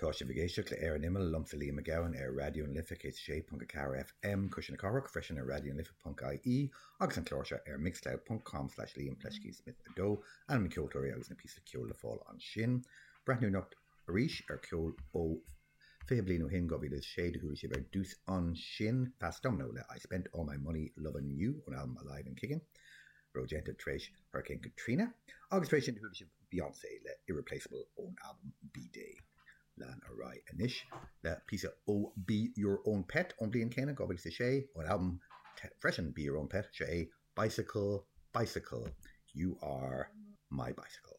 Tá sibh ag éisteacht le Ar an Imeall, liomsa Liam Mac Gabhann ar Raidió na Life 106.4 FM, Cuisle na Cathrach, freisin ar raidionalife.ie agus an clár seo ar mixcloud.com slash Liam Pleiscí Smith 2, ainm na ceoltóirí agus na píosa ceoil le fáil ansin. Breathnú anocht arís ar ceol ó 20 bliain ó shin, 2006, do chuala sibh ar dtús ansin Fast Domino le I Spent All My Money Lovin' You ón albam Alive and Kickin', a raibh déanta tar éis Hurricane Katrina, agus tar éis sin do chuala sibh Beyoncé le Irreplaceable ón albam B'Day. Lean ar aghaidh anois le píosa ó Be Your Own Pet ón bhliain céanna, 2006, ón albam freisin Be Your Own Pet, seo é Bicycle, Bicycle, You Are My Bicycle.